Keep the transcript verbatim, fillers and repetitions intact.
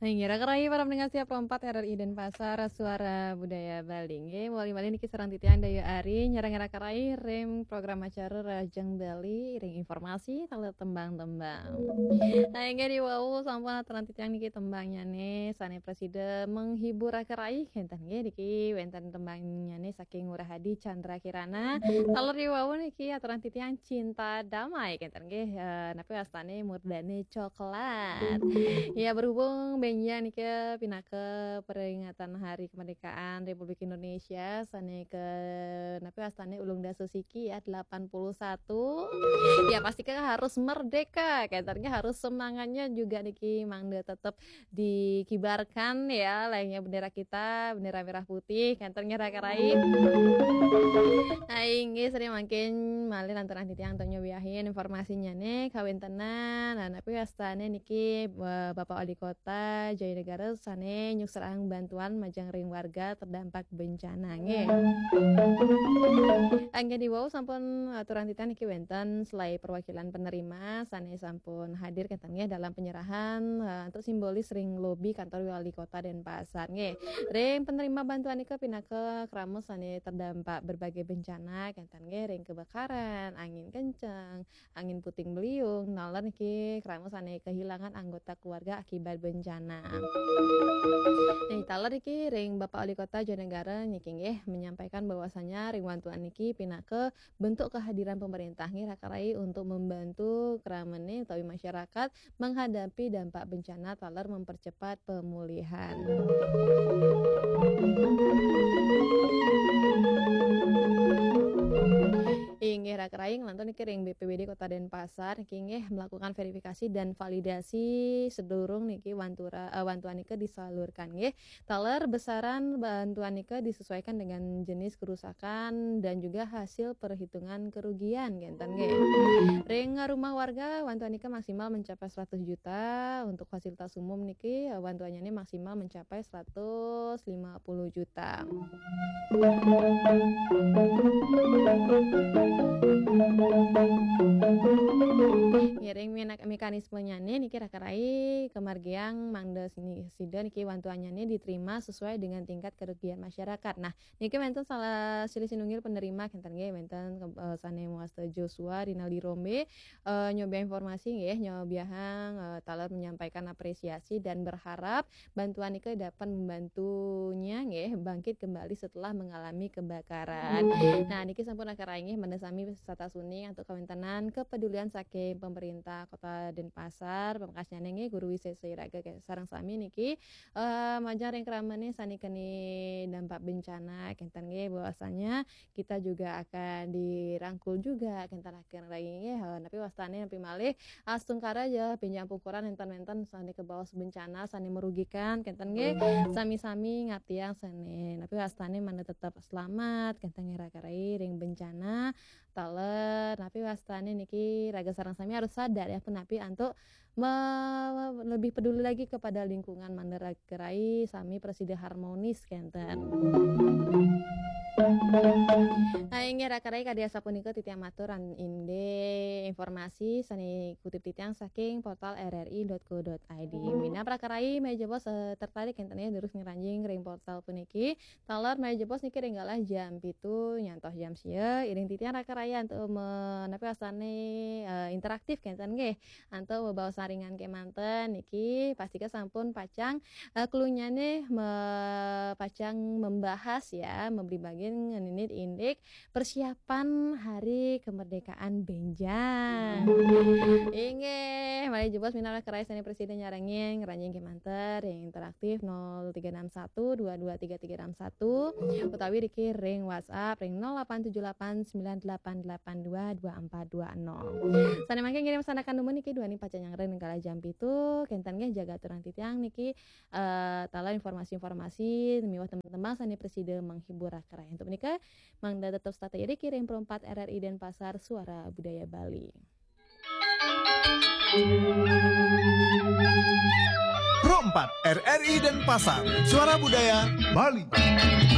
Hai, ngira kerai para pendengar siap lompat R R I Denpasar, Suara Budaya Bali. Nggih, mawali malih niki sareng titiang Dayu Ari, nyarengin kerai ring program acara Rahajeng Bali, ring informasi, taler tembang-tembang. Nah, inggih diwau sampun aturang titiang niki tembangnyane, sane prasida menghibur kerai, kenten nggih niki wenten tembangnyane saking Ngurah Hadi Chandra Kirana. Taler diwau niki aturang titiang Cinta Damai, kenten nggih, eh, napi wastane Murdane Coklat. Ya, berhubung benjang nika pinaka peringatan Hari Kemerdekaan Republik Indonesia, sane ke, napi wastane ulung dasa siki ya, delapan puluh satu. Ya, pasti kan harus merdeka, kenten nggih harus semangatnya juga niki mangda tetap dikibarkan ya, layaknya bendera kita, bendera merah putih, kenten nggih kerai. Nah, inggih sering mangkin malih lantaran titiang untuk nyobiahin informasinyane kawentenan. Nah, napi wastane niki, eh, Bapak Wali Kota Jayanegara sane nyukserang bantuan majeng ring warga terdampak bencana nggih. Inggih diwau sampun aturang titiang niki wenten selae perwakilan penerima sane sampun hadir kenten nggih dalam penyerahan, eh, untuk simbolis ring lobi kantor Wali Kota Denpasar nggih. Ring penerima bantuan nika pinaka krama sane terdampak berbagai bencana kenten nggih ring kebakaran, angin kenceng, angin puting beliung, taler niki krama sane kehilangan anggota keluarga akibat bencana. Nih, taler niki ring Bapak Wali Kota Jayanegara niki nggih menyampaikan bahwasanya ring bantuan niki pinaka bentuk kehadiran pemerintah nggih kerai untuk membantu kramane utawi masyarakat menghadapi dampak bencana taler mempercepat pemulihan. Inggih kerai, nglantur niki ring B P B D Kota Denpasar niki nggih melakukan verifikasi dan validasi sedurung niki wantura, eh, bantuan nika disalurkan nggih. Taler besaran bantuan nika disesuaikan dengan jenis kerusakan dan juga hasil perhitungan kerugian, kenten nggih. Ring rumah warga, bantuan nika maksimal mencapai seratus juta, untuk fasilitas umum niki, eh, bantuannya ini maksimal mencapai seratus lima puluh juta. Ngiring mena-, mekanismenyane niki kerai kamargiang mangda sini sida niki bantuannyane diterima sesuai dengan tingkat kerugian masyarakat. Nah, niki wenten salah silih sinunggil penerima kenten nggih, wenten ke-, eh, sane mawasta Joshua Rinaldi Rombe, eh, nyobiah informasi nggih, nyobiahang, eh, taler menyampaikan apresiasi dan berharap bantuan nika dapat membantunya nggih bangkit kembali setelah mengalami kebakaran. Nah, niki sampun kerai nggih mangda sami setata suning antuk kawentenan kepedulian saking pemerintah Kota Denpasar, pamekasnyane nggih Guru Wisesa Iraga sareng sami niki, eh, majeng ring kramane sane keni dampak bencana, kenten nggih bahwasanya kita juga akan dirangkul juga, kenten kerai nggih, eh, napi wastane napi malih astungkara ya benjang pungkuran enten-enten sane kebaos bencana, sane merugikan, kenten nggih. Sami-sami ngartiang sane napi wastane mangda tetap selamat, kenten nggih kerai ring bencana, taler, napi wastane niki raga sareng sami harus sadar ya, punapi antuk me-, lebih peduli lagi kepada lingkungan, mangda kerai sami prasida harmonis kenten. Nah, inggih kerai kadi asapunika titiang matur an-, indik informasi sane kutip titiang saking portal R R I dot co dot I D. Minab kerai malih jebos, eh, tertarik kenten ya durus ngranjing ring portal puniki. Taler malih jebos niki ring galah jam pitu nyantos jam sia, iring titiang kerai antuk me-, napi wastane, eh, interaktif kenten nggih. Antuk bebaosan ringan kemanten niki pastika sampun pacang, eh, klunyane me-, pacang membahas ya, memberi bagian ngeninit indik persiapan Hari Kemerdekaan benjang. Inggih, malih jebos minab kerai sane prasida nyarengin ngranjing kemanten ring interaktif nol tiga enam satu dua dua tiga tiga enam satu utawi niki ring WhatsApp ring nol delapan tujuh delapan sembilan delapan delapan dua dua empat dua nol. Sane mangkin ngiring sanakan dumun niki duaning pacang nyarengin ring galah jam pitu, kenten nggih jaga aturang titiang niki, eh, taler informasi-informasi miwah tembang-tembang sane prasida menghibur kerai. Antuk menika mangda tetep setata iring ring Pro empat R R I Denpasar, Suara Budaya Bali. Pro empat R R I Denpasar, Suara Budaya Bali.